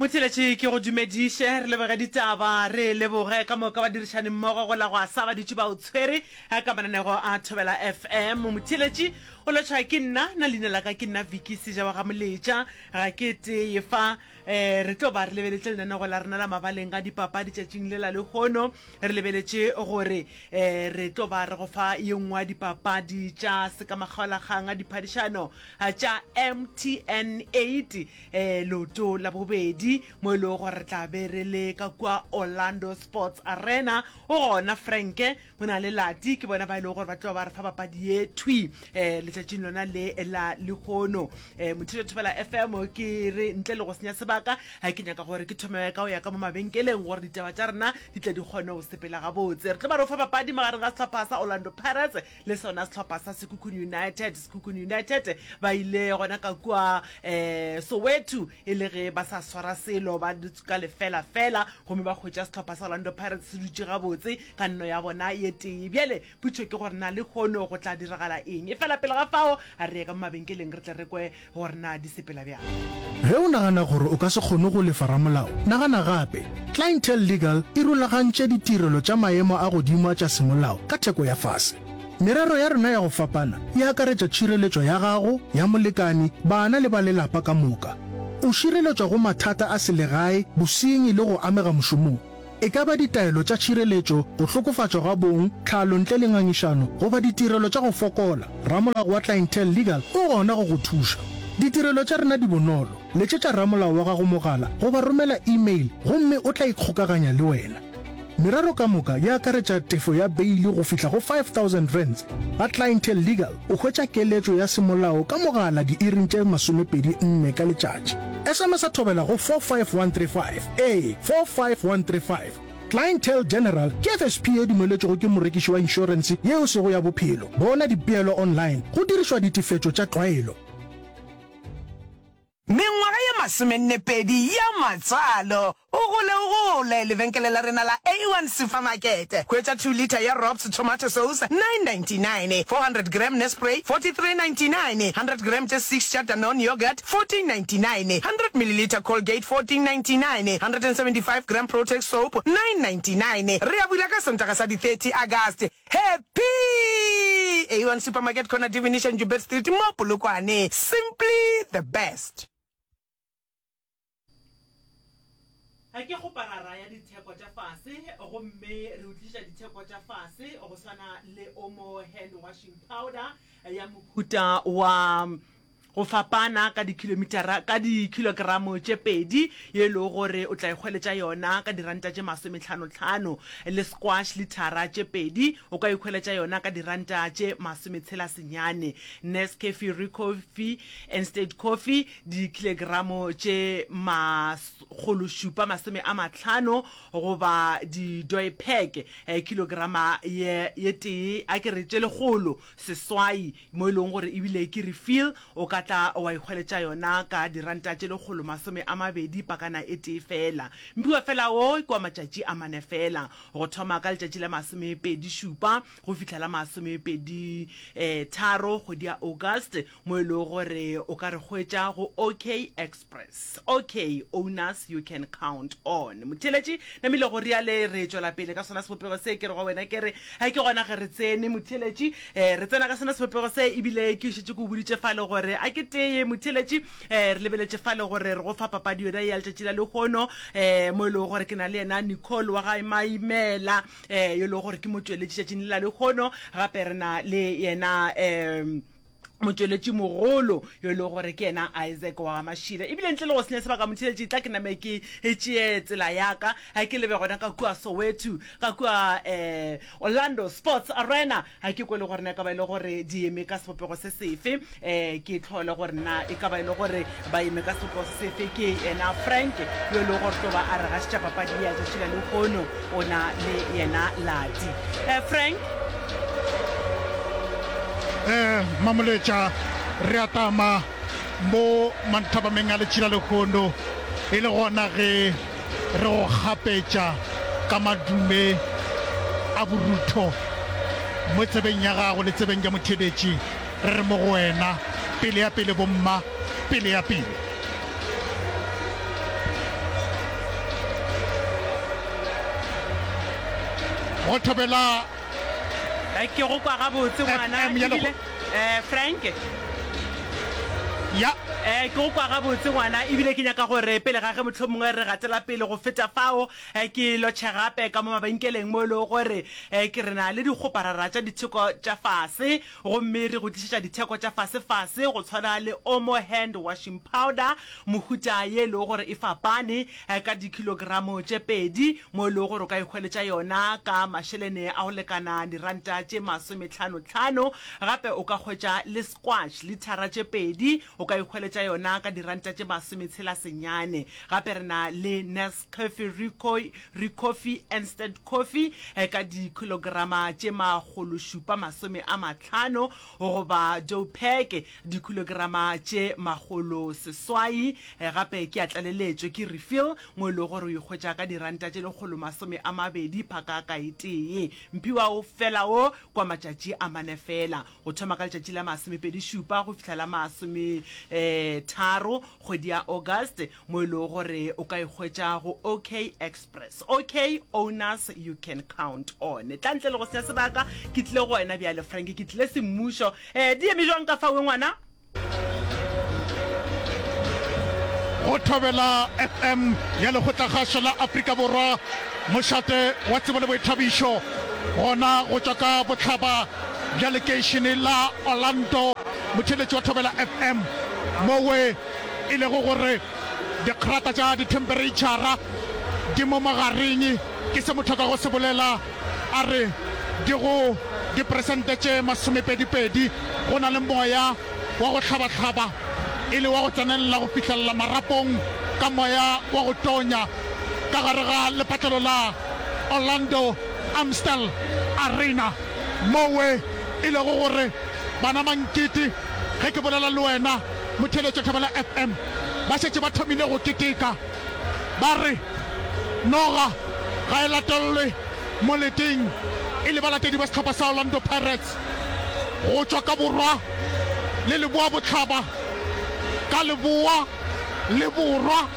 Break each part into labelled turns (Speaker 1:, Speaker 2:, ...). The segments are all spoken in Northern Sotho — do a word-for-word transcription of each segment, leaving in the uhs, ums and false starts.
Speaker 1: Motheeletši ke go dumediše, re leboge ditaba, re leboge ka moka badirišani mmogo go la go asa ba dutše ba o tshwere ka mananego a Thobela F M. Motheeletši o lotšha ke nna, nna leina la ka ke nna Vicky Seja wa ga Moletša, ga ke tee fa. um re tlo ba re lebeletše lenanego la rena la mabaleng a dipapadi tšatšing le la lehono, re lebeletše gore um re tlo ba re go fa ye nngwe ya dipapadi tša sekamakgaolakgang a diphadišano tša M T N eight um leoto la bobedi, mo e lego gore re tla be re le ka kua Orlando Sports Arena. O gona Franke, go na le Lati, ke bona ba e lego gore ba tlo ba re fa papadi ye thwi um letšatšing lona le la lehono. um Mothuto Thobela F M, ke re ntle le go senya sebaka, ga ke nyaka gore ke thome ka go ya ka mo mabenkeleng gore ditaba tša rena di tle di kgone go sepela gabotse. Re tlo ba re o fa papadi magareng ga sehlopha sa Orlando Pirates le sona sehlopha sa Sekhukhune United. Sekhukhune United ba ile gona ka kua um Soweto e le ge ba sa swara selo, ba ka lefela fela, gomme ba hwetša sehlopha sa Orlando Pirates se dutše gabotse ka nno ya bona ye tee. Bjale putšo ke gore na le kgono go tla diragala eng, e fela pele ga fao a re ye ka mo mabenkeleng re tle re kwe gore na di sepela bjang.
Speaker 2: Ge o nagana gore o ka se kgone go lefa ramolao, nagana gape. Clientele Legal e rulagantše ditirelo tša maemo a godimo a tša semolao ka theko ya fase. Merero ya rena ya go fapana e akaretša tšhireletšo ya gago, ya molekani, bana le ba lelapa ka moka. O šireletšwa go mathata a selegae, bosenyi le go amega mošomong. E ka ba ditaelo tša tšhireletšo, go hlokofatšwa ga bong, tlhalo ntle le ngangišano, goba ditirelo tša go fokola, ramolao wa Clientele Legal o gona go go thuša. Ditirelo tša rena di bonolo. Letšetša ramolao wa gago mogala goba romela email gomme o tla ikgokaganya le wena. Merero ka moka e akaretša tefo ya beili go fihla go five thousand rands. Ga Clientele Legal o hwetša keletšo ya semolao ka mogala diiring tše masomepedi nne ka letšatši. S M S a Thobela go four five one three five, ee, four five one three five. Clientele General ke F S P e dumeletšwego ke morekiši wa inšorense yeo sego ya bophelo. Bona dipeelo online go dirišwa ditefetšo tša tlwaelo.
Speaker 3: Mengwaga ye masomennepedi ya matswalo, o gole o gole. Lebenkele la rena la A one Supermarket, hwetša two litre ya Robs tomato sauce nine ninety-nine, four hundred gram Nespray forty-three ninety-nine, hundred gram tše six tša Danone yogurt fourteen ninety-nine, hundred milliliter Colgate fourteen ninety-nine, one hundred seventy-five gram Protex soap nine ninety-nine. Re a bula ka Sontaga sa di thirty August. Happy A one Supermarket, corner Divination Joubert Street mo Polokwane. Simply the best.
Speaker 1: Ga ke kgoparara ya ditheko tša fase, gomme re o tliša ditheko tša fase go swana le Omo hand washing powder ya mohuta wa go fapana ka dikilomitara ka dikilogramo tše pedi, ye e lego gore o tla ikgweletša yona ka diranta tše masometlhanotlhano, le squash lithara tše pedi o ka ikgweletša yona ka diranta tše masometshela senyane, Nescafe Ricoffy Instant Coffee dikilogeramo tše makgološupa masome a matlhano, goba di-doypack kilograma ye ye tee, a ke re tše lekgolo seswai, mo e leng gore ebile ke refill, o ka tla wa ikgweletša yona ka diranta tše lekgolo masome a mabedi pakana e tee fela. Mphiwa fela wo ke wa matšatši a mane fela, go thoma ka letšatši la masomepedi šupa go fihla la masomepedi um tharo kgwedi ya August, mo e leng gore o ka re hwetša go OK Express. OK, owners you can count on. Motheeletši, namile go riale re tšwela pele ka sona sebopego se ke re go wena ke re ga ke gona ge re tsene. Motheeletši, um re tsena ka sona sebopego se, ebile ke šetše ke o boditše fale gore a ke tee. Motheeletši, um re lebeletše fale gore re go fa papadi yona ya letšatši la lehono, um mo e leng gore ke na le yena Nicole wa gae Maimela, um yo e leng gore ke motšweletši tšatšing le la lehono. Gape re na le yena um motšweletši mogolo yo e leng gore ke yena Isaac wa Mašila. Ebile ntle le go senya sebaka, motheletši, tla ke name ke tšee tsela yaka ga ke lebe gona ka kua Soweto, ka kua um Orlando Sports Arena, ga ke kwe le gore na e ka ba e le gore di eme ka sebopego se sefe, um ke tlhole gore na e ka ba e le gore ba eme ka sebopego se sefe. Ke yena Frank yo e leng gore tlo ba a re gašetša papadi ya tšatši la lehono, o na le yena Lati. um Frank.
Speaker 4: um Mamoletša, re atama mo manthabameng a letšila lehono e le gona ge re go gapetša ka madume a borutho mo tsebeng ya gago le tsebeng ya motheeletši, re re mo go wena, pele ya pele bomma, pele ya pele. Go Thobela
Speaker 1: Ke go kwa gabotse ngwana
Speaker 4: F M ya
Speaker 1: ebile
Speaker 4: lekgo.
Speaker 1: eh Frank.
Speaker 4: Ya.
Speaker 1: Eh ke go kwa gabotse ngwana ebile ke nyaka gore pele ga ge mohlomongwe re gatela pele go feta fao eh, ke lotšhe gape ka mo mabenkeleng mo e lego gore eh, ke re na le dikgoparara tša ditheko tša fase gomme re go tlišetša ditheko tša fase-fase go tshwana le Omo hand washing powder mohuta ye e lego gore e fapane eh, ka dikilogramo tše pedi mo e lego gore o ka ihweletša yona ka mašelene a go lekana diranta tše masometlhano-tlhano. Gape o ka hwetša le squash lithara tše pedi o ka ihweletša yona ka diranta tše masometshela senyane. Gape re na le Nescafe Recoffee Instant Coffee eh, ka dikilograma tše makgološupa masome a mahlano goba Doe-Pack dikilograma tše makgolo seswai. Eh, gape ke a tlaleletšo ke refill mo e lego gore o ihwetša ka diranta tše lekgolo masome a mabedi phaka ka e tee. Mphiwa o fela wo kwa matšatši a mane fela, go thoma ka letšatši la masomepedi šupa go fihla la masome eh, tharo kgwedi ya August, mo e lego gore o ka ihwetša go OK Express. OK owners you can count on. Tla ntle le go senya sebaka, ke tlile go wena bjale Frank, ke tlile semmušo. Eh, di eme jwang ka fawe ngwana?
Speaker 4: Go Thobela F M ya Lekgotlakgašo la Afrika Borwa, mošate wa tsebo le boithabišo, gona go tšwa ka bohlaba bja lekeišene la Orlando, motheeletši wa Thobela F M, mowe e lego gore dikgrata tša dithempereitšhara di mo magareng, ke se motho a kago se bolela a re di go diperesente tše masomepedi-pedi, go na le moya wa go hlabahlaba e le wa go tsenelela go fihlelela marapong ka moya wa go tonya ka gare ga lepatlelo la Orlando Amstel Arena, mowe e lego gore bana mankete, ge ke bolela le wena motheeletšo Thobela F M, ba šetše ba thomile go keteka, ba re noga ga e latelelwe moleteng, e le balatedi ba sehlopha sa Orlando Pirates go tšwa ka borwa le leboa bohlaba, ka leboa le borwa,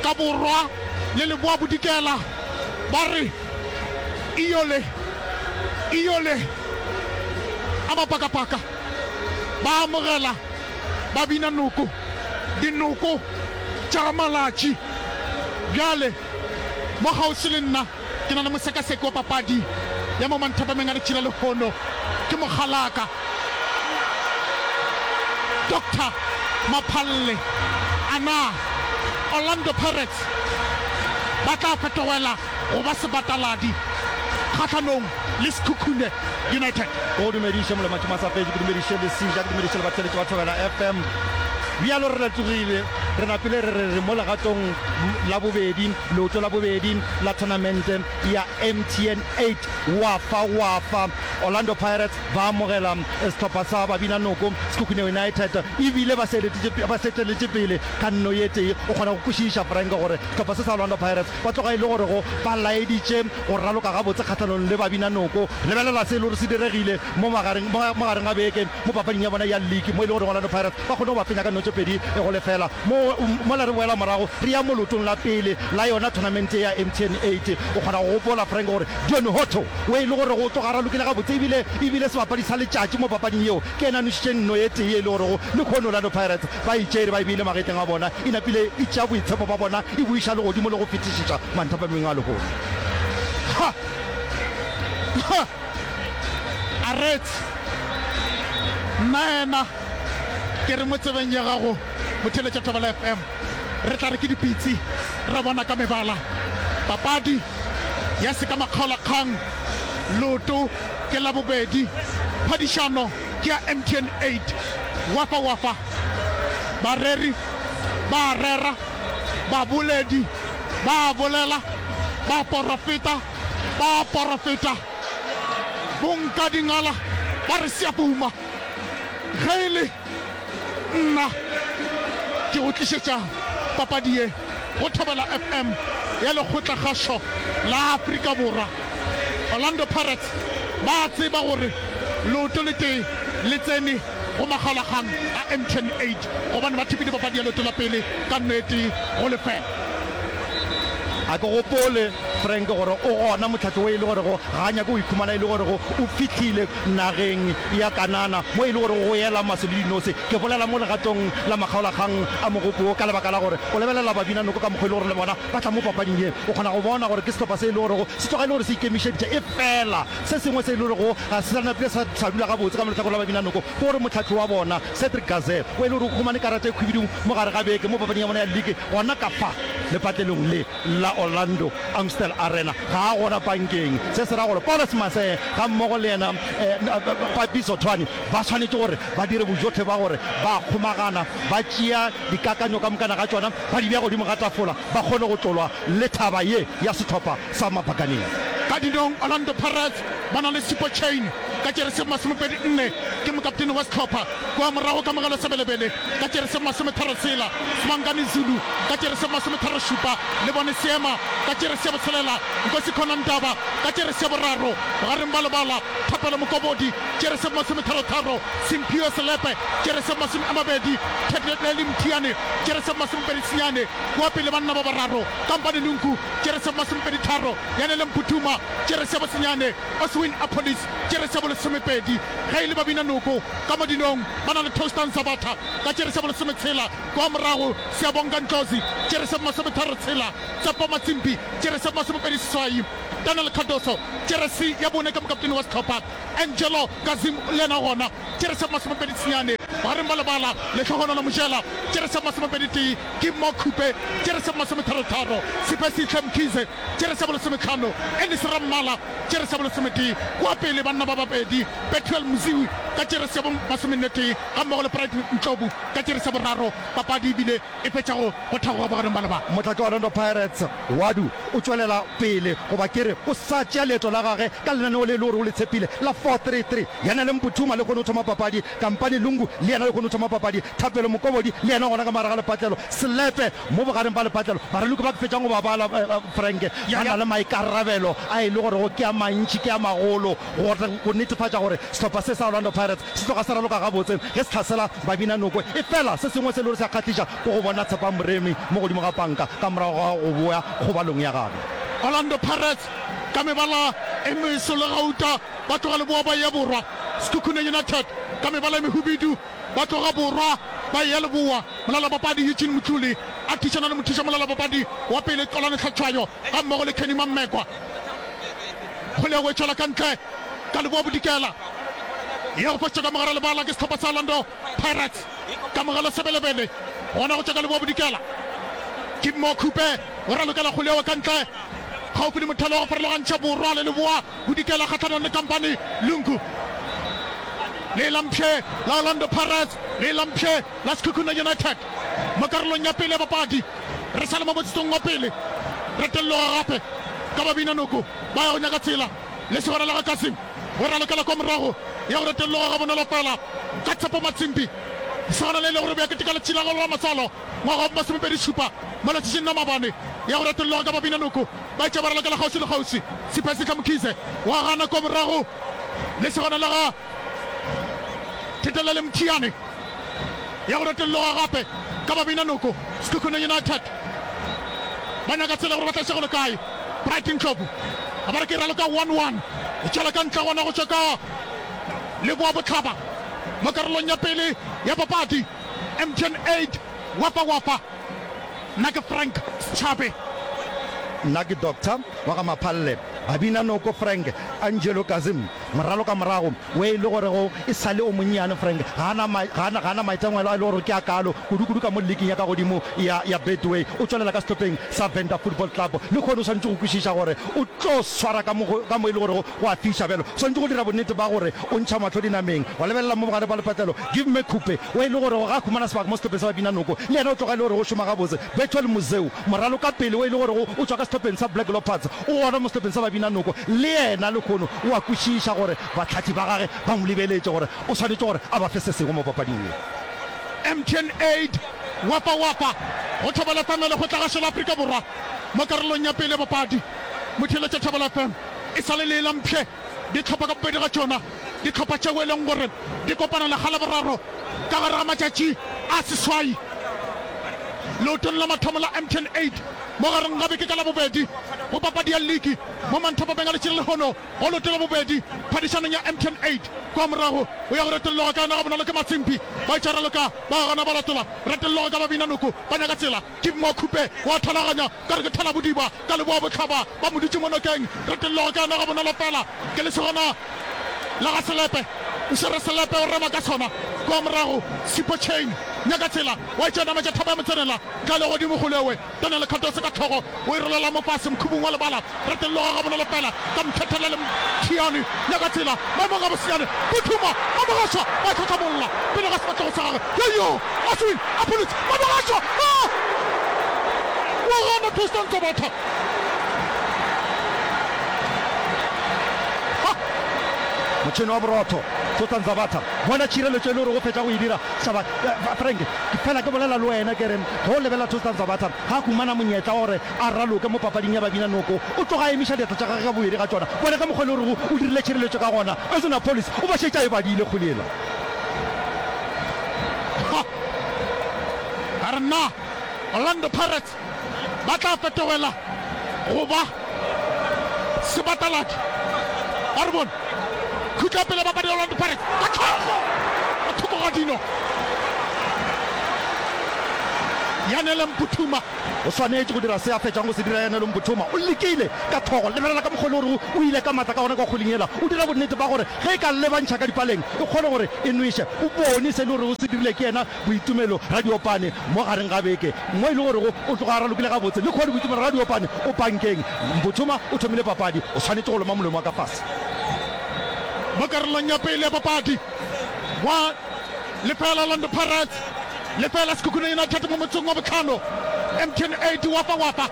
Speaker 4: ka borwa le leboa bodikela, ba re iyole iyole a mapakapaka, ba amogela ba bina noko, dinoko tša ga Malatši. Bjale mo kgauswi le nna ke na le mosekaseki wa papadi ya mo manthapameng a letšila lehono, ke mokgalaka Doctor Maphalle. A na Orlando Pirates ba tla fetogela go ba sebataladi kgahlanong le Sekhukhune United?
Speaker 5: Go dumediše Molematši Masapetše, ke dumediše Lesija, ke dumediše le batheeletši ba Thobela F M. Bjalo re letsogile, re napile re re re mo legatong la bobedi, leoto la bobedi la thonamente ya M T N eight Wafa Wafa. Orlando Pirates ba amogela sehlopha sa Babinanoko Sekhukhune United ebile ba se eteletše pele ka nno ye tee. O kgona go kwešiša Frank gore sehlopha se sa Orlando Pirates ba tloga e le gore go ba laeditše go raloka gabotse kgahlanong le Babinanoko. Lebelela se e le gore se diregile mo magareng mo gareng ga beke mo papading ya bona ya league mo e le gore Orlando Pirates ba kgone go ba fenya ka nno tše pedi go lefela. Mo mola re boela morago re ya mo leotong la pele la yona thonamente ya M T N eight. O kgona go gopola Frank gore Dion Hotto o e le gore go tloga ralokile gabotse ebile ebile sebapadi sa letšatši mo papading yeo ke yena a nošitše nno ye tee e le gorego lehono Orlando Pirates ba e tšere ba e beile magetleng a bona e napile e tšea boitshepo ba bona e bo iša legodimo le go fetišiša manthapameng a lehono.
Speaker 4: Ha! Ha! Aretse, nnaena ke re mo tsebeng ya gago motheeletša Thobela F M, re tla re ke dipitsi ra bona ka mebala. Papadi ya se ka makgaolakgang, leoto ke la bobedi, phadišano ke ya M T N eight. Wafa wafa, bareri ba a rera, baboledi ba a bolela, baporofeta ba a porofeta, bonkadingala ba re seapuma. Ge e le nna ke go tlišetša papadi ye go Thobela F M ya Lekgotlakgašo la Afrika Borwa. Orlando Pirates ba a tseba gore leoto le tee le tsene go makgaolakgang a M T N eight gobane ba thopile papadi ya leoto la pele ka nno e tee go lefela.
Speaker 5: A ke gopole, Frank, gore o gona mohlahli wo e le gorego ga a nyake go ikhumana e le gorego o fihlile nageng ya Kanana mo e le gorego go ela maswi le dinose. Ke bolela mo legatong la makgaolakgang a mogopo wo ka lebaka la gore o lebelela Babinanoko ka mokgwa e le gore le bona ba tla mo papading ye. O kgona go bona gore ke sehlopha se e le gorego se tloga e le gore se ikemišeditše. Efela se sengwe se e le gorego ga se sa napile sa sa dula gabotse ka mo lehlakoreng la Babinanoko ke gore mohlahli wa bona, Cedric Gazelle, o e le gore o humane karata e khwibidu mo gare ga beke mo papading ya bona ya liki gona ka fa lepatlelong le la Orlando Amstel Arena. Ga a gona pankeng. Se se ra gore Paulus Masee gammogo le yena Papi Sothwane ba swanetše gore ba dire bojohle ba gore ba kgomagana, ba tšea dikakanyo ka mokana ga tšona ba di bea godimo ga tafola, ba kgone go tlolwa le thaba ye ya sehlopha sa Mabakaneng.
Speaker 4: Ka dinong, Orlando Pirates ba na le Sipho Chaine ka jeresi masomepedi nne, ke mokaptene wa sehlopha. Kua morago Kamogelo Sebelebele ka jeresi masometharo tshela, Sibangani Zulu ka jeresi masometharo šupa, Lebone Seema ka jeresi ya botshelela, Nkosikhona Ndaba ka jeresi ya boraro, bogareng ba lebala Thapelo Mokobodi jeresi masometharo tharo, Simphiwe Selepe jeresi masome a mabedi, Thedleli Mthiane jeresi masomepedi senyane, kua pele banna ba bararo Kampane Lunku jeresi masomepedi tharo, Yanele Mputhuma jeresi ya bosenyane, Oswin Appollis jeresi ya bolesomepedi. Ge e le Babinanoko ka mo dinong ba na le Toastan Sabatha ka jeresi ya bolesometshela, kua morago Siyabonga Ndlozi jeresi ya bomasometharo tshela, Tsepo Matsimbi jeresi ya bomasomepedi seswai, Daniel Cardoso jeresi ya bone ka mokaptene wa sehlopha, Angelo Kazim le yena gona jeresi ya bomasomepedi senyane, bogareng ba lebala Lehlohonolo Mojela jeresi ya bomasomepedi tee, Kimmo Khupe jeresi ya bomasometharo-tharo, Siphesihle Mkhize jeresi ya bolesometlhano, Ellis Rammala jeresi ya bolesometee, kua pele banna ba babedi Bethuel Mziwi ka jeresi ya bomasomennetee gammogo le Bright Ndlovu ka jeresi ya boraro. Papadi e bile e fetša go go thagoga bogareng ba lebala.
Speaker 5: Mohlahli wa Orlando Pirates, Wadu, o tšwelela pele goba ke re o sa tšea leeto la gage ka lenaneo le e le gore o le tshepile la four three three. Yena le Mputhuma le kgone go thoma papadi, Kampane Lungu le yena le kgone go thoma papadi, Thapelo Mokobodi le yena gona ka mogare ga lepatlelo, Selepe mo bogareng ba lepatlelo. Baraloki ba ke fetšang go ba bala, Frank, ba na le maikarabelo a e le gorego ke a mantši, ke a magolo go go netefatša gore sehlopha se sa Orlando Pirates se tloga se raloka gabotse ge se hlasela Babinanoko. Efela se sengwe se e le gore se a kgahliša ke go bona Tshepang Moremi mo godimo ga panka ka morago ga go boya kgobalong ya gagwe.
Speaker 4: Orlando Pirates ka mebala e meso le gauta ba tloga leboa ba eya borwa, Sekhukhune United ka mebala e mehubidu ba tloga borwa ba eya leboa. Molalabapadi Eugene Mdluli a thušana le mothuša molalabapadi wa pele Xolani Hlatshwayo gammogo le Kenny Mammekwa. Kgwele ya go e tšwela ka ntle ka leboa bodikela ya go fošetšwa ka mogare lebala ke sehlopha sa Orlando Pirates. Kamogelo Sebelebele gona go tšwa ka leboa bodikela. Kimmo Khupe o ralokela kgwele yeo ka ntle kgaufsi le mothalo wa go farologantšha borwa le leboa bodikela kgahlanong le Kampani Lungu. Le la mpšhe la Orlando Pirates le la mpšhe la Sekhukhune United mo karolong ya pele ya papadi. Re sa le mo motsotsong wa pele, re telloga gape ka Babinanoko ba ya go nyaka tsela. Lesogana la ga Kasim o ralokela kwa morago ya go retelloga gabonolo fela ka Tshepo Matsimbi. Lesogana le le gore bja keteka letšatši la gagwe la matswalo ngwaga wa masomepedi šupa mo letšatšing la maabane ya go retelloga ka Babinanoko ba etša ba ralokela kgauswi le kgauswi. Siphesihle Mkhize wa gana kwa morago lesogana la ga Thetelele Mthiane ya go retolloga gape ka Babinanoko. Sekhukhune United ba nyaka tsela gore ba tla šego le kae. Bright Ndlovu a ba re ke raloka one one e tšwela ka ntle gona go tšwa ka leboa bohlaba mo karolong ya pele ya papadi. M T N eight Wafa Wafa. Nna ke Frank Setšhabe.
Speaker 5: Nna ke Doctor wa ga Maphalle. Babinanoko Frank Angelo Kazim Moralo ka morago we e le gorego e sa le o monnyane, Frank ga a na, ga a na, ga a na maitemogelo a e le gore ke a kaalo, kudu-kudu ka mo liking ya ka godimo ya, ya Betway. O tšwelela ka sehlopheng sa Venda Football Club. Lehono o swanetše go kwešiša gore o tlo swara ka mo go, ka mo e le gorego go a fiša. Bjalo o swanetše go dira bonnete ba gore o ntšha mahlo dinameng, wa lebelela mo bogare ba lepatlelo. Give me Khupe, we e le gorego ga a humana sebaka mo sehlopheng sa Babinanoko, le yena o tloga e le gore o šoma gabotse. Bethuel Muzeu, moralo ka pele we e le gorego o tšwa ka sehlopheng sa Black Leopards, o gona mo sehlopheng sa Babinanoko, le yena lehono o a kwešiša gore bahlahli ba gage ba mo lebeletše gore o swanetše gore a ba fe se sengwe mo papading ye.
Speaker 4: M T N Aid Wafa Wafa go Thobela F M ya Lekgotlagašo la Afrika Borwa mo karolong ya pele ya papadi. Motheeletša Thobela F M e sa le lee la mpšhe dihlopha ka bobedi ga tšona, dihlopha tšeo e leng gore di kopana lekga la boraro ka gare ga matšatši a seswai. Leotong la mathomo la M T N eight mo gareng ga beke ka Labobedi go papadi ya liki mo manthapameng a letšatši la lehono go leoto la bobedi phadišanong ya M T N eight. Kua morago o ya go retolloga ka yona gabonolo ke Matsimpi. Ba etša raloka ba gana ba latola retolloga ka Babinanoko ba nyaka tsela. Ke Mma Khupe wa thalaganya ka re ke thalabodiba ka leboa bohlaba ba mo dutše mo nokeng retolloga ka yona gabonolo fela ke lesogana la ga Selepe o swere selepe o rema ka sona kua morago Sipho Chain nyaka tsela wa etša nametša thaba ya motsenela tla le godimo golewe Daniel Cardoso ka hlogo o e rolela mo fase mokhubung wa lebala retolloga gabonolo fela ka Mthethela le Mthiane nyaka tsela maemong a bosenyane Phuthuma Mamogašwa ba tlhotlhamolla pele ga sefahlego sa gagwe yoyo Oswin a pholotše Mamogašwa a wa gana Tristan Tsobatha
Speaker 5: ha Motšhene wa borotho Tristan Zabatha bona tšhireletšo e le gore go fetša go e dira Saba Frank ke fela ke bolela le wena ke re ge o lebelela Tristan Zabatha ga a humana monyetla wa gore a raloke mo papading ya babina noko o tloga a emiša diatla tša gagwe ka bobedi ga tšona bona ka mokgwa e le gorego o dirile tšhireletšo ka gona Oswin Appollis o ba šetše a e badile kgwele yela.
Speaker 4: Ha! A re na Orlando Pirates ba tla fetogela go ba sebataladi? A re bone. Khutla pele papadi ya Orlando Pirates ka tlhogo ka thoko ga dino. Yanele Mputhuma.
Speaker 5: O swanetše go dira se a fetšago go se dira Yanele Mputhuma. O lekile ka tlhogo. Lebelela ka mokgwa e le gorego o ile ka matla ka gona ka kgweleng yela. O dira bonnete ba gore ge e ka lebantšha ka dipaleng e kgone gore e nweše. O bone se e le gorego se dirile ke yena Boitumelo Radiopane mo gareng ga beke mo e le gorego o tloga a ralokile gabotse. Lehono Boitumelo Radiopane o pankeng. Mputhuma o thomile papadi. O swanetše go loma molomo wa ka fase.
Speaker 4: Mo karolong ya pele ya papadi, gwa lefela Orlando Pirates, lefela Sekhukhune United mo motsong wa bohlano. M T N eight wafa wafa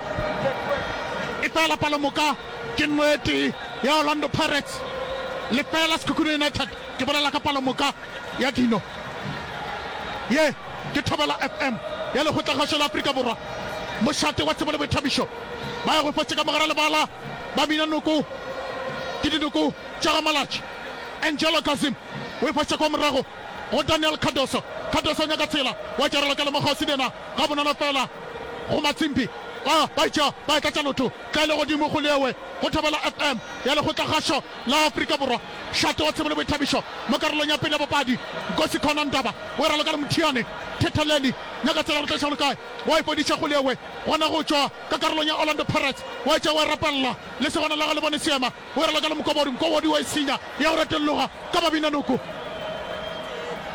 Speaker 4: efela palomoka ke nno e tee ya Orlando Pirates, lefela Sekhukhune United. Ke bolela ka palomoka ya dino. Ye ke Thobela F M ya Lekgotlakgašo la Afrika Borwa, mošate wa tsebo le boithabišo. Ba ya go fotše ka mogara lebala ba bina noko ke dinoko tša ga Malatši. Angelo Kazim o e foša kwa morago go Daniel Cardoso. Cardoso o nyaka tsela, wa tšarela ka lemokgauswi le yena gabonolo fela go Matsimbi. Ba ba etša ba e tlatša lotho tla e le godimo go lewe go Thobela F M ya Lekgotlakgašo la Afrika Borwa. Šate wa tsebo le boithabišo mo karolong ya pele ya papadi, Nkosi Khona Ndaba o e raloka le Mothiane Thetheleli. Nyaka tsela go tla go le kae, wa e fodiša go lewe gona go tšwa ka karolong ya Orlando Pirates, wa etša wa e rapella lesogana la ga Lebone Seema o e raloka le Mokobodi, Mokobodi wa e senya ya go retolloga ka Babinanoko.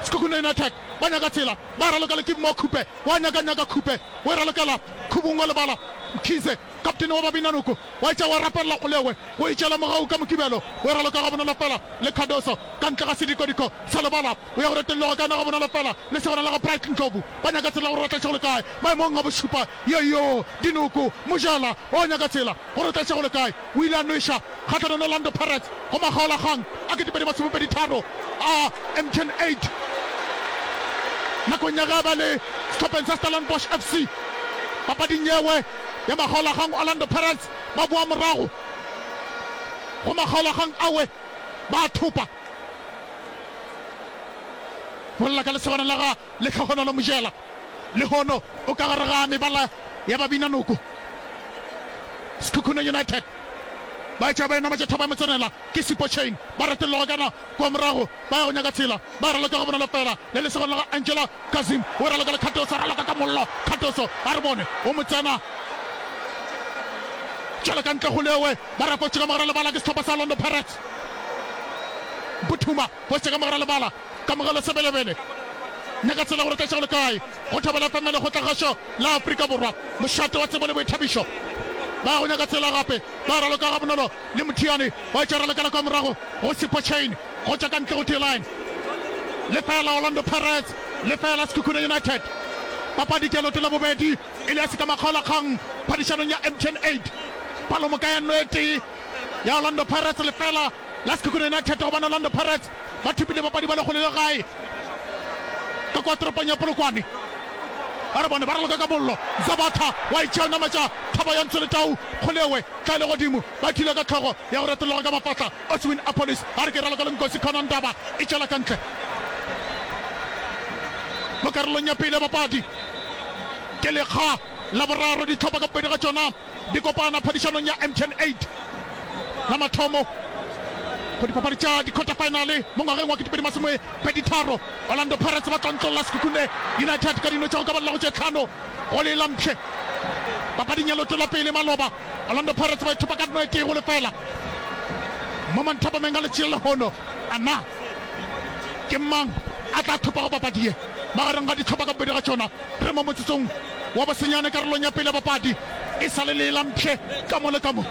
Speaker 4: Sekhukhune United ba nyaka tsela, ba e raloka le Kibmo Khupe, wa nyaka nyaka Khupe o e ralokela Khubung wa lebala Mkhize. Kaptene wa Babinanoko wa etša wa rapelela Olewe go itšela mogau ka Mokibelo o e raloka gabonolo fela le Cardoso ka ntle ga sedikodiko sa lebala o ya go retolloga ka yona gabonolo fela le segona la ga Bright Ndlovu ba nyaka tsela gore ba tlatše go le kae maemong a bošupa Yoyo Dinoko Mojela o nyaka tsela gore o tlatše go le kae o ile a nweša kgahlanong le Orlando Pirates go makgaolakgang a ketepedi masomepedi tharo a M T N eight nakong ya ge a ba le sehlopheng sa Stellenbosch F C papading yewe ya makgaolakgang Orlando Pirates ba boa morago go makgaolakgang awe ba a thopa. Bolela ka lesogana la ga Lehlohonolo Mojela, lehono o ka gare ga mebala ya Babinanoko. Sekhukhune United ba etša ba enametša thaba ya motsenela ke Sipho Chaine, ba retolloga kana kua morago ba ya go nyaka tsela, ba raloka gabonolo fela le lesogana la ga Angela Kazim o raloka le Cardoso, a raloka ka mollo Cardoso, a re bone o mo tsena tšwela ka ntle go lewe, ba re fotše ka mogare lebala ke sehlopha sa Orlando Pirates. Mputhuma fotše ka mogare lebala, Kamogelo Sebelebele nyaka tsela gore tlatša go le kae go Thobela F M Lekgotlakgašo la Afrika Borwa, mošate wa tsebo le boithabišo. Ba ya go nyaka tsela gape, ba raloka gabonolo le Mothiane wa etša ralokela kwa morago go Sipho Chaine go tšwa ka ntle go T-line. Lefeela Orlando Pirates, lefeela Sekhukhune United. Papadi ke ya leoto la bobedi e le ya sekamakgaolakgang phadišanong ya M T N eight. Palomoka ya nno e tee ya Orlando Pirates, lefeela la Sekhukhune United gobane Orlando Pirates ba thopile bapadi ba lekgolo le gae ka kwa toropong ya Polokwane. Ba re bone ba raloka ka mollo. Zabatha wa itšea o nametša thaba ya Ntsoletau Kgolewe tla le godimo ba thula ka hlogo ya go retologa ka mafahla. Oswin Appollis a re ke raloka le Nkosi Khona Ndaba e tšwela ka ntle mo karolong ya pele ya papadi. Ke lekga la boraro dihlopha ka bobedi ga tšona di kopana phadišanong ya M T N eight la mathomo go dipapadi tša di-quarter final mo ngwageng wa ketepedi masome pedi tharo. Orlando Pirates ba tlontlolla Sekhukhune United ka dino tša go ka balela go tše tlhano go lee la mpšhe. Papading ya leoto la pele maloba, Orlando Pirates ba ithopa ka dino e tee go lefela mo manthapameng a letšatši la lehono. A na ke mang a tla thopago papadi ye magareng ga dihlopha ka bobedi ga tšona? Re mo motsotsong wa bosenyane karolong ya pele ya papadi. E sa le lee la mpšhe ka mo le ka mo.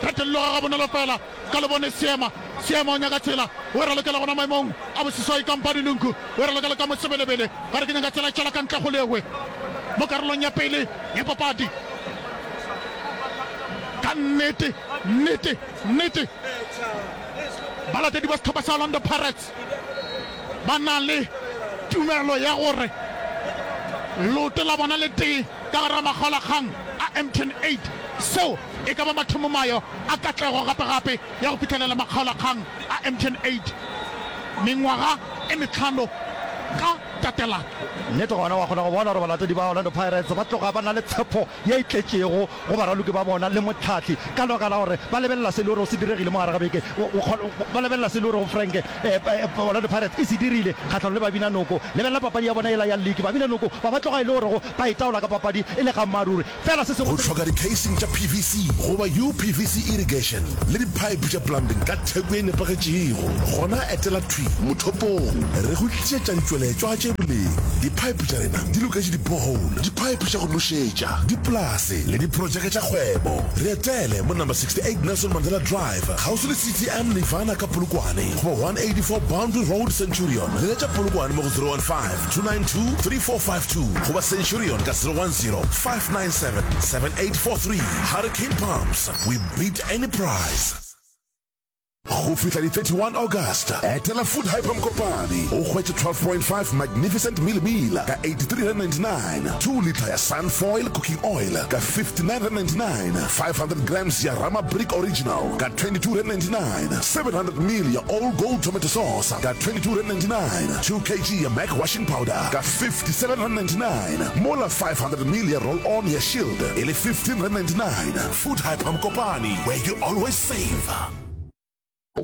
Speaker 4: Retelloga gabonolo fela ka lebone Seema. Seema o nyaka tsela. O e ralokela gona maemong a boseswai ka Mpadi Lunku. O e ralokela ka Mosebelebele. Gare ke nyaka tsela e tšwela ka ntle go lewe mo karolong ya pele ya papadi. Ka nnete, nnete, nnete, balatedi ba sehlopha sa Orlando Pirates ba na le tumelo ya gore leoto la bona le tee ka gare ga makgaolakgang a M T N eight. Seo e ka ba mathomomayo a katlego gape-gape ya go fihlelela makgaolakgang a M T N eight mengwaga e mehlano ka tatelano.
Speaker 5: Nnete gona wa kgona go bona gore balatedi ba Orlando Pirates ba tloga ba na le tshepo ye e tletšego go baraloki ba bona le mohlahli ka lebaka la gore ba lebelela se e le gorego se diregile mo gare ga beke. Ba lebelela se e le gorego Frank Orlando Pirates e se dirile kgahlanong le Babinanoko. Lebelela papadi ya bona yela ya liki, Babinanoko ba ba tloga e le gorego ba itaola ka papadi e le gammaaruri. Fela se sengwe
Speaker 6: O
Speaker 5: se.
Speaker 6: hloka di-casing tša P V C goba U P V C irrigation le di-pipe tša plumbing ka theko ye nepagetšego? Gona etela thwi mothopong re go tlišetša ditšweletšwa tše boleng. Di-pipe tša rena di loketše di-borehole, di-pipe tša go nošetša, dipolase le diprojeke tša kgwebo. Re etele mo number sixty eight Nelson Mandela Drive, kgauswi le C T M Nirvana ka Polokwane goba one eighty four Boundary Road, Centurion. Leletša Polokwane mo go zero one five, two nine two, three four five two goba Centurion ka zero one zero, five nine seven, seven eight four three. Hurricane Pumps, we beat any price. Go fihla di thirty one August, etela Food Hyper Mokopane o hwetše twelve point five Magnificent Mealie Meal ka eighty three rand ninety nine, two litre ya Sunfoil Cooking Oil ka fifty nine rand ninety nine, five hundred grams ya Rama Brick Original ka twenty two rand ninety nine, seven hundred mil ya All Gold Tomato Sauce ka twenty two rand ninety nine, two kg ya Mac Washing Powder ka fifty seven rand ninety nine, mola five hundred mil ya Roll On ya Shield e le fifteen rand ninety nine. Food Hyper Mokopane, where you always save.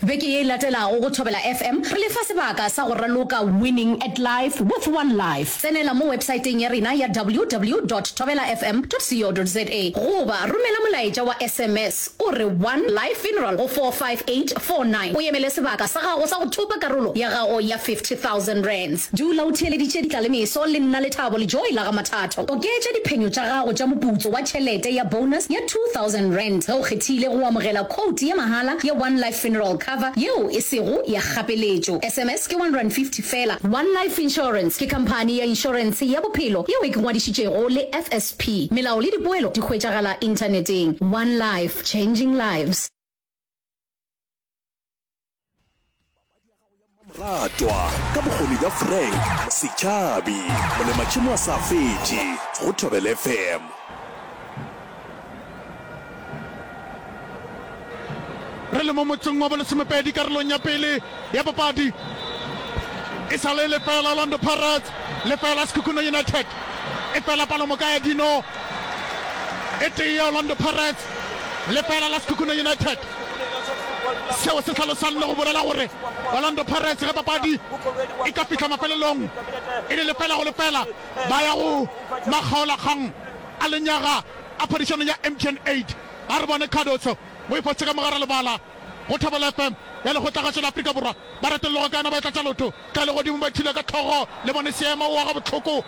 Speaker 7: Beke ye e latelago go Thobela F M re le fa sebaka sa go raloka Winning at Life with One Life. Tsenela mo websaeteng ya rena ya W W dot thobela F M dot co dot za goba romela molaetša wa S M S o re One Life Funeral go four five eight four nine o emele sebaka sa gago sa go thopa karolo ya gago ya fifty thousand rands. Dula o theeleditše Ditlalemeso le nna Lethabo le Joy la ga Mathatho. Oketša diphenyo tša gago tša moputso wa tšhelete ya bonus ya two thousand rand ge o kgethile go amogela quote ya mahala ya One Life Funeral Cover yeo e sego ya kgapeletšo. S M S ke one rand fifty fela. One Life Insurance ke khamphani ya inšorentshe ya bophelo yeo e ngwadišitšego le F S P. Melao le dipoelo di hwetšagala inthaneteng. One Life, changing lives.
Speaker 8: Ratwa ka bokgoni bja Frank Setšhabi, molematšhemo a sa fetše go Thobela F M.
Speaker 4: Re le mo motseng wa bolesomepedi karolong ya pele ya papadi. E sa le lefela Orlando Pirates, lefela Sekhukhune United. E fela palomoka ya dino e tee ya Orlando Pirates, lefela la Sekhukhune United. Seo se hlalosang le go bolela gore Orlando Pirates ge papadi e ka fihla mafelelong e le lefela go lefela, ba ya go makgaolakgang a lenyaga a phadišano ya M T N eight. A re bone Cardoso o e fotše ka mogare lebala go Thobela F M ya Lekgotlagašo la Afrika Borwa. Ba retologa ka yona ba e tlatša lotho tla legodimo ba ithula ka hlogo le bone seema o aga bohloko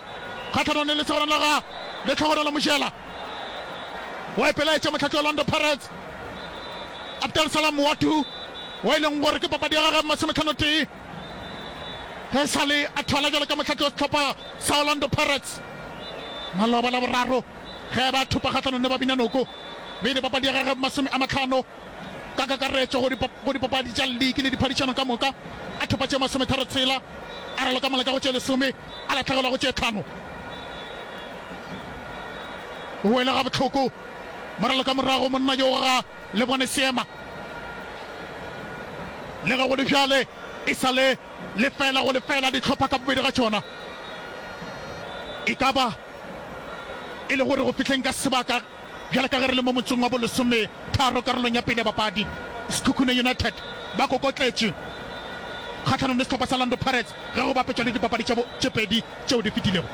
Speaker 4: kgahlanong le lesogana la ga Lehlogonolo Mojela. Wa ipelaetša mohlahli wa Orlando Pirates Abdel Salam Ouaddou wa e leng gore ke papadi ya gagwe masometlhano tee ge e sa le a thwala bjalo ka mohlahli wa sehlopha sa Orlando Pirates maloba la boraro ge ba thopa kgahlanong le Babinanoko. Bile papadi ya gagwe masome a mahlano ka kakaretšo go dipapadi tša liki le diphadišano ka moka, a thopa tše masometharo tshela, a raloka mola ka go tše lesome, a lahlegelwa go tše tlhano. O wele gabohloko moraloka morago monna yo ga le bone seema. Le ge go le bjale e sa le lefela go lefela dihlopha ka bobedi ga tšona. E ka ba E le gore go fihleng ka sebaka bjale ka ge re le mo motsong wa bolesometharo karolong ya pele ya papadi, Sekhukhune United ba kokotletše kgahlanong le sehlopha sa Orlando Pirates ge go bapetšwa le dipapadi tša tše pedi tšeo di fetilego.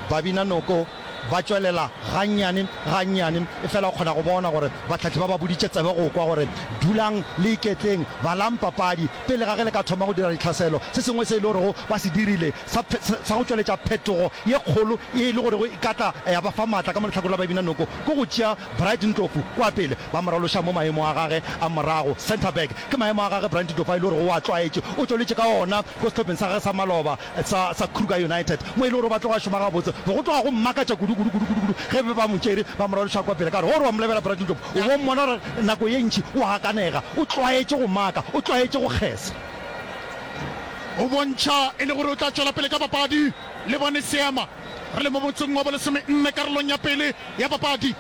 Speaker 5: Babinanoko ba tšwelela gannyane gannyane, efela o kgona go bona gore bahlahli ba ba boditše tsebe go kwa gore dulang le iketleng, balang papadi pele ga ge le ka thoma go dira ditlhaselo. Se sengwe se e le gorego ba se dirile sa, sa go tšweletša phetogo ye kgolo ye e le gorego e ka tla ya ba fa maatla ka mo lehlakoreng la Babinanoko ke go tšea Bright Ndlovu kwa pele ba mo raloša mo maemo a gage a morago, centre back. Ke maemo a gage Bright Ndlovu a e le gorego o a tlwaetše, o tšweletše ka ona ko sehlopheng sa gage sa maloba sa, sa Kruger United mo e le gore ba tloga šoma gabotse. Be go tloga go mmakatša kudu, kudu, kudu, kudu, kudu ge be ba mo tšere ba mo raloša kwa pele ka gore ge o re wa mo lebela Bright Ndlovu o bo mmona gore nako ye ntši o a gakanega, o tlwaetše go maka, o tlwaetše go kgesa.
Speaker 4: O bontšha e le gore o tla tšwela pele ka papadi le bone seema. Re le mo motsong wa bolesomenne karolong ya pele ya papadi.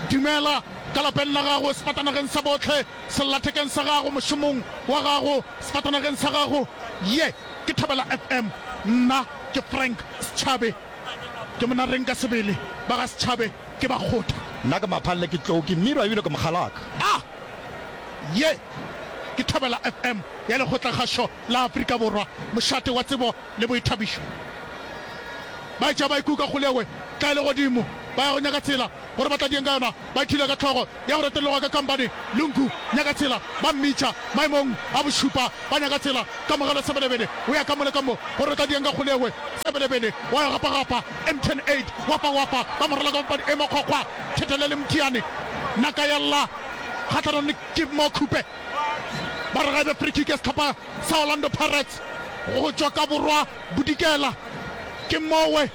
Speaker 4: Dumela ka lapeng la gago, sefatanageng sa bohle, sellathekeng sa gago, mošomong wa gago, sefatanageng sa gago. Ye ke Thobela F M. Nna ke Frank Setšhabe. Ke monareng ka sebele. Ba ga Setšhabe ke bakgotha.
Speaker 5: Nna ke Maphalle, ke tlou, ke mmirwa ebile ke mokgalaka.
Speaker 4: A Ye ke Thobela F M ya Lekgotlakgašo la Afrika Borwa, mošate wa tsebo le boithabišo. Ba etša ba ikuka kgolewe tla e le godimo, ba ya go nyaka tsela gore ba tla dieng ka yona. Ba ithula ka hlogo ya go retologa ka kampane Lungu nyaka tsela, ba mmitša maemong a bošupa. Ba nyaka tsela, Kamogelo Sebelebele o ya ka mo le ka mo gore o tla dieng ka kgolewe. Sebelebele wa yo gapagapa M ten eight, wapa wapa, ba mo raloka papadi e makgwakgwa. Thethelele Mthiane, naka ya lla kgahlanong le Givemore Khupe. Ba re ga e be free kick ya sehlopha sa Orlando Pirates go tšwa ka borwa bodikela. Ke mowe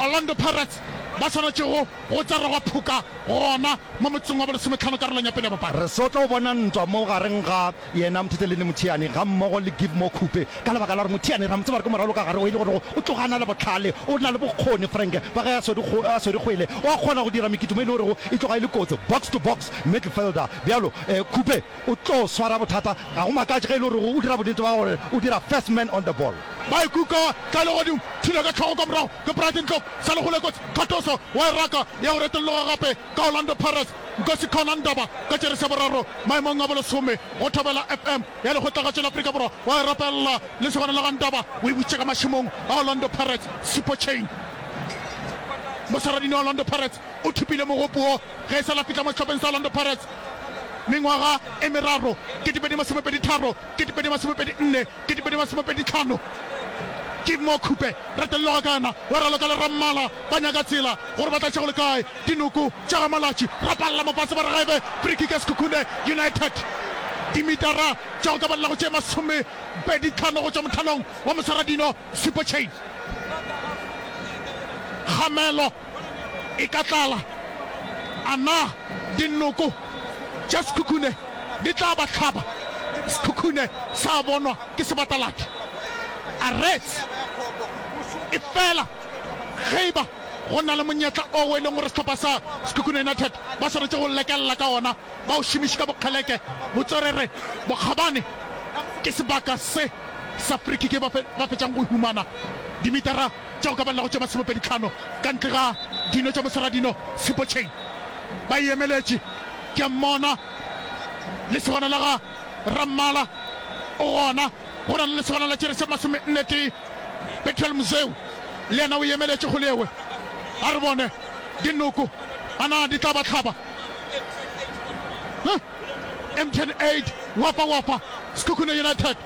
Speaker 4: Orlando Pirates ba swanetšego go tserwa phoka gona mo motsong wa bolesometlhano karolong ya pele ya papadi.
Speaker 5: Re so tlo bona ntwa mo gareng ga yena Mthetheleli Mothiane gammogo le Givemore Khupe ka lebaka la gore Mothiane ra mo tseba gore ke moralo ka gare o e le gore o tloga a na le bohlale, o na le bokgoni. Frank ba ge a swere kgwele o a kgona go dira mekitimo e le gorego e tloga e le kotsi, box to box midfielder. Bjalo Khupe o tlo swara bothata, ga go makatše ge e le gore o dira bonnete ba gore o dira first man on the ball.
Speaker 4: Ba e kuka ka legodimo, thula ka hlogo ka morago ke Bright Ndlovu, sa le kgole kotsi, Cardoso wa e raka ya go retolloga gape ka Orlando Pirates, Nkosikhona Ndaba ka jeresi ya boraro maemong a bolesome go Thobela F M ya Lekgotlagatšo la Afrika Borwa wa e rapelela lesogana la ga Ndaba o e butše ka mašemong a Orlando Pirates. Sipho Chaine moswaradino wa Orlando Pirates o thopile mogopo wo ge e sa la fihla mo sehlopheng sa Orlando Pirates mengwaga e meraro, ketepedi masomepedi tharo, ketepedi masomepedi nne, ketepedi masomepedi tlhano. Givemore Khupe retelloga ka yena wa raloka le Rammala ba nyaka tsela gore ba tla tšego le kae dinoko tša ga Malatši rapalla mofase ba re ga e be free kick ya Sekhukhune United dimetara tša go ka balela go tše masomepedi tlhano go tšwa mothalong wa moswaradino Sipho Chaine Kgamelo e ka tlala. A na dinoko tša Sekhukhune di tla ba hlaba? Sekhukhune sa bonwa ke sebataladi. A Reds efela ge e ba go na le monyetla oo e leng gore sehlopha sa Sekhukhune United ba swanetše go lekelela ka ona, ba o šomiše ka bokgeleke, botswerere, bokgabane, ke sebaka se sa free kick ye ba fetšang go e humana dimetara tša go ka balela go tše masomepedi tlhano ka ntle ga dino tša moswaradino Sipho Chaine. Ba e emeletše. Ke a mmona lesogana la ga Rammala o gona. Go na le lesogana la tšerese masomenne tee Bethuel Mzeu le yena o e emeletše kgole ewe. A re bone dinoko a na di tla ba hlaba. Huh? M T N eight Wafa Wafa Sekhukhune United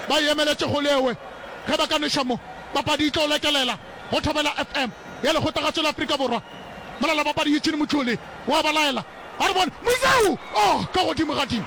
Speaker 4: ba e emeletše kgole ewe. Ge ba ka nweša mo Papadi e tlo lekelela go Thobela F M ya Lekgotlagatšo la Afrika Borwa. Molalabapadi Eugene Motšhole o a ba laela. A re bone Muzeu! Oh, ka godimo ga dimo!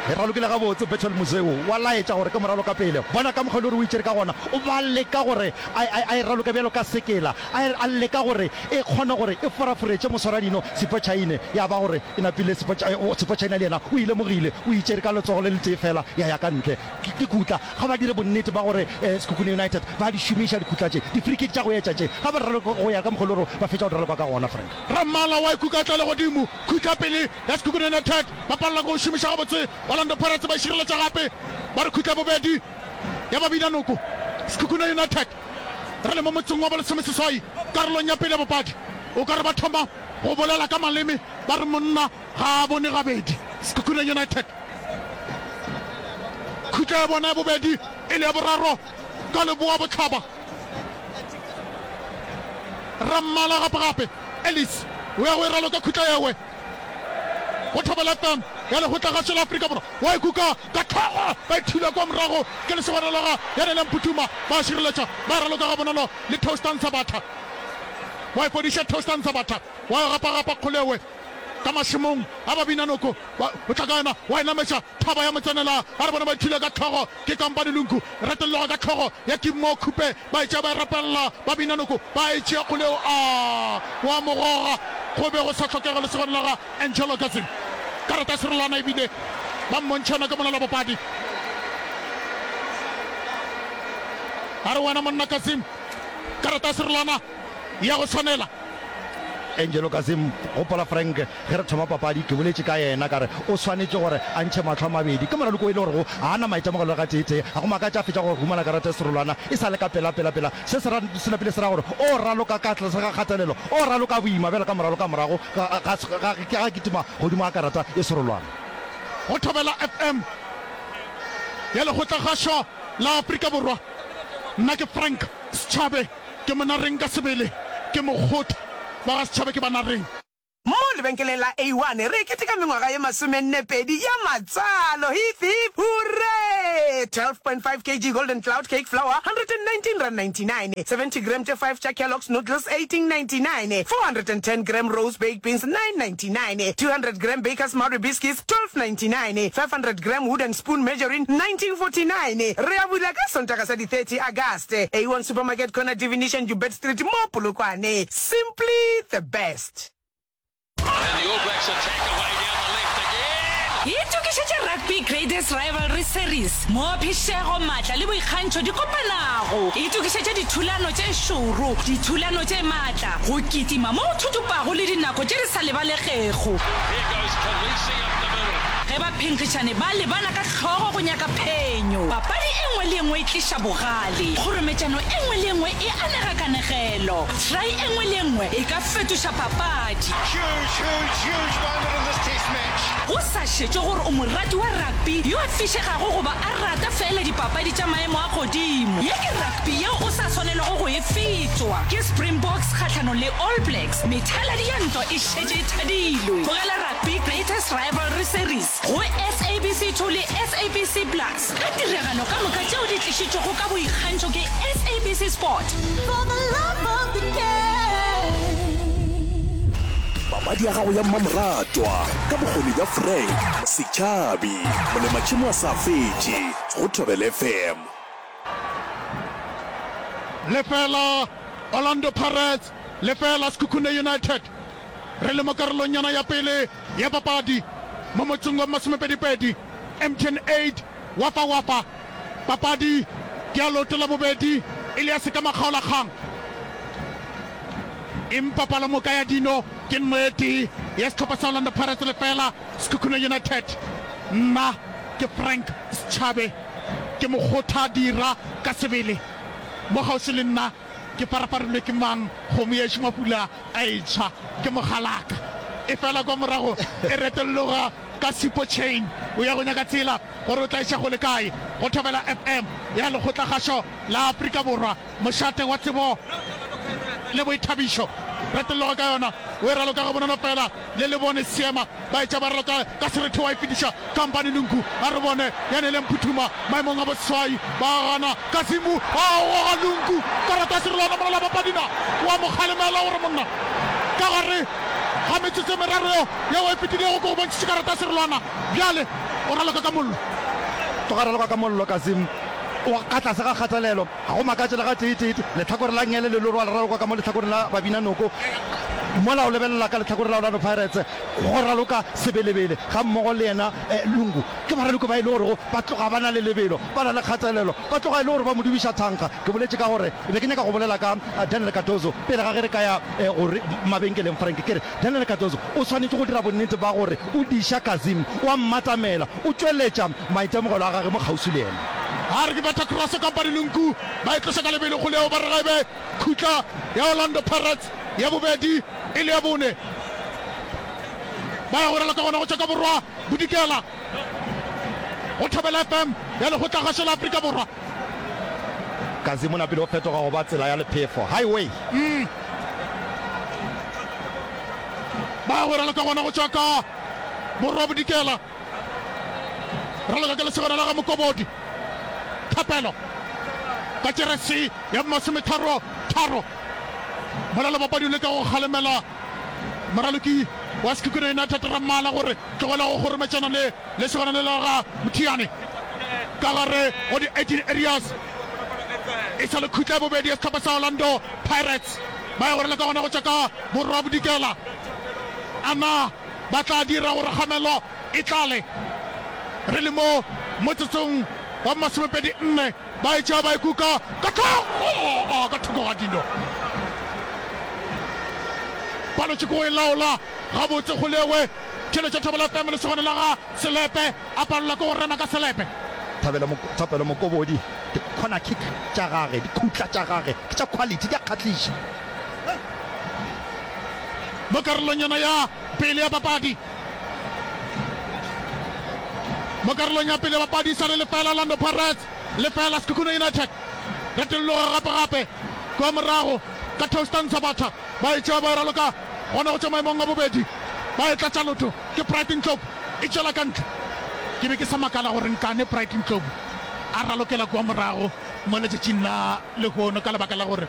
Speaker 5: E ralokile gabotse Bethuel Muzeu wa laetša gore ke moralo ka pele. Bona ka mokgwa e le gore o itšere ka gona. O ba leka gore a, a, a e raloke bjalo ka sekela. A, a leka gore e kgone gore e foraforetše moswaradino Sipho Chaine. Ya ba gore e napile Sipho, Sipho Chaine le yena o e lemogile. O itšere ka letsogo le letee fela ya ya ka ntle. Ke dikhutla. Ga ba dire bonnete ba gore Sekhukhune United ba di šomiša dikhutla tše, di-free kick tša go etša tše. Ga ba raloke go ya ka mokgwa e le gore ba fetša go di raloka ka gona, Frank.
Speaker 4: Rammala wa ikuka tla legodimo, khutla pele ya Sekhukhune United ba palelwa ke go šomiša gabotse. Orlando Pirates ba e šireletša gape, ba re khutla bobedi ya ba bina noko. Sekhukhune United re le mo motsong wa bolesomeseswai Karolong ya pele ya papadi, o ka re ba thoma go bolela ka maleme ba re monna ga a bone gabedi. Sekhukhune United khutla ya bona ya bobedi e le ya boraro ka leboa bohlaba. Rammala gape-gape Ellis o ya go e raloka khutla yewe go Thobela F M ya Lekgotlagašo la Afrika Borwa. Wa e kuka ka hlogo, ba e thula kua morago ke lesogana la ga Yanele Mphuthuma. Ba a šireletša, ba e raloka gabonolo le Toastan Sabatha. Wa e fodiša Toastan Sabatha, wa e gapa-gapa kgolewe ka mašemong a Babinanoko. Ba, o tla ka yona, wa e nametša thaba ya motsenela. A re bone ba e thula ka hlogo ke Kampane Lunku. Retelloga ka hlogo ya Kimmo Khupe, ba e tšea ba e rapelela Babinanoko. Ba e tšea kgoleo, a wa mo goga. Go be go sa hlokege lesogana la ga Angelo Kazim. Karata ya serolwana ebile ba mmontšha yona ke mola la bopadi. A re wena monna Kazim, karata ya serolwana ya go swanela.
Speaker 5: Angelo Kazim, gopola Frank, ge re thoma papadi ke boletše ka yena ka re o swanetše gore a ntšhe mahlo a mabedi. Ke moraloko o e le gorego ga a na maitemogelo le gateetee. Ga go makatše a fetša go humana karata ya serolwana e sa le ka pela pela pela. Se se ra, se napile se ra gore o raloka ka tlase ga kgatelelo, o raloka boima bjalo ka moraloka morago ga, ga, ga, ga kitima godimo ga karata ye serolwana.
Speaker 4: Go Thobela F M ya Lekgotlakgašo la Afrika Borwa, nna ke Frank Setšhabe, ke Monareng ka sebele, ke mokgotha ba ga Setšhabe ke Banareng.
Speaker 3: Mo lebenkeleng la A one re keteka mengwaga ye masomenne pedi ya matswalo! Hip hip hurray! twelve point five kg Golden Cloud Cake Flour, hundred and nineteen rand ninety nine, seventy gram tše five tša Kellogg's Noodles, eighteen ninety nine, four hundred and ten gram Rose Baked Beans, nine ninety nine, two hundred gram Baker's Marie Biscuits, twelve ninety nine, five hundred gram Wooden Spoon Margarine, nineteen forty nine. Re a bula ka Sontaga sa di thirty Agast. A one Supermarket corner Divination Joubert Street mo Polokwane. Simply the best.
Speaker 9: Itokišetše Rugby Greatest Rivalry Series, moo phišego, matla le boikgantšho di kopanago. Itokišetše dithulano tše šoro, dithulano tše matla, go kitima mo go thuthupago le dinako tše di sa lebalegego. Ge baphenkgišani ba lebana ka hlogo go nyaka phenyo, papadi e nngwe le e nngwe e tliša bogale, kgorometšano e nngwe le e nngwe e anega kanegelo, try e nngwe le e nngwe e ka fetoša papadi. Go sa šetšwe gore o morati wa rugby yo a fišegago goba a rata feela dipapadi tša maemo a godimo, ye ke rugby yeo o sa swanelwago go e fetwa. Ke Springboks kgahlanong le All Blacks, methaladi ya ntwa e šetše e thadilwe. Bogela Rugby Greatest Rivalry Series go S A B C two le S A B C Plus ka tiragalo ka moka tšeo di tlišitšwego ka boikgantšho ke S A B C Sport. For the love of the
Speaker 8: game. Papadi ya gago ya mmamoratwa ka bokgoni bja Frank Setšhabi, molematšhemo a sa fetše go Thobela F M.
Speaker 4: Lefela Orlando Pirates, lefela Sekhukhune United. Re le mo karolong-yana ya pele ya papadi mo motsong wa masomepedi-pedi, M T N eight Wafa Wafa. Papadi ke ya leoto la bobedi e le ya sekamakgaolakgang, empa palomoka ya dino ke nno e tee ya sehlopha sa Orlando Pirates lefela Sekhukhune United. Nna ke Frank Setšhabe, ke mokgotha dira ka sebele. Mo kgauswi le nna ke farafarilwe ke mang? Kgomo yešo mafula a e tshwa ke mogalaka. Efela kwa morago e retolloga ka Sipho Chain. O ya go nyaka tsela gore o tla iša go le kae go Thobela F M ya Lekgotlakgašo la Afrika Borwa, mošate wa tsebo le boithabišo. Retolloga ka yona o e raloka gabonolo fela le lebone seema ba etša ba raloka ka serethe wa e fetiša kampane Lungu a re bone ya nele Mphuthuma maemong a boseswai ba gana Kasimu a goga Lungu karata serolwana mola la papadina wa mo kgalemela gore monna ka gare ga metsotso e meraro yeo e fetilego ke go bontšhitše karata serolwana bjale o raloka ka mollo.
Speaker 5: Tloga raloka ka mollo Kasimu o ka tlase ga kgatelelo. Ga go makatše le gateetee, lehlakore la nngele le lorwa le raloka ka mo lehlakoreng la Babinanoko, mola o lebelela ka lehlakoreng la Orlando Pirates go raloka Sebelebele gammogo le yena Lungu. Ke baraloki ba e le gorego ba tloga ba na le lebelo, ba na le kgatelelo, ba tloga e le gore ba mo dubiša thankga. Ke boletše ka gore be ke nyaka go bolela ka Daniel Cardoso pele ga ge re ka ya go mabenkeleng. Frank, ke re Daniel Cardoso o swanetše go dira bonnete ba gore o diša Kazim, o a mmatamela, o tšweletša maitemogelo a gage mo kgauswi le yena.
Speaker 4: A re ke betha cross kampane Lunku ba e tloša ka lebelo go leo ba re ga e be khutla ya Orlando Pirates ya bobedi e le ya bone. Ba ya go raloka gona go tšwa ka borwa bodikela go Thobela F M ya Lekgotlagašo la Afrika Borwa.
Speaker 5: Kazi mona pele o fetoga go ba tsela ya lephefo, highway.
Speaker 4: Ba ya go raloka gona go tšwa ka borwa bodikela. Raloka ke lesogana la ga Mokobodi. Thapelo ka jeresi ya masometharo tharo. Mola lebapadi o leka go kgalemela moraloki wa Sekhukhune United Rammala gore tlogela go kgorometšana le lesogana le la ga Mothiane ka gare go di eighteen areas. E sa le khutla ya bobedi ya sehlopha sa Orlando Pirates. Ba ya go raloka gona go tšwa ka borwa bodikela. A na ba tla dira gore kgamelo e tlale? Re le mo motsotsong wa masomepedi nne ba e tšea ba e kuka ka hlogo ka thoko ga dino. Palotše ke go e laola gabotse Kgolewe. Tšheletša Thobela F M lesogana la ga Selepe a palelwa ke go rema ka selepe.
Speaker 5: Thabelo Thapelo Mokobodi, di corner kick tša gage, dikhutla tša gage ke tša quality, di a kgahliša.
Speaker 4: Mo karolong yona ya pele ya papadi, mo karolong ya pele ya papadi e sa le lefela Orlando Pirates, lefela Sekhukhune United. Retolloga gape-gape kua morago ka Toastan Sabatha, ba e tšea ba e raloka gona go tšwa maemong a bobedi, ba e tlatša lotho ke Bright Ndlovu, e tšwela ka ntle. Ke be ke sa makala gore nkane Bright Ndlovu a ralokela kua morago mo letšatšing la lehono ka lebaka la gore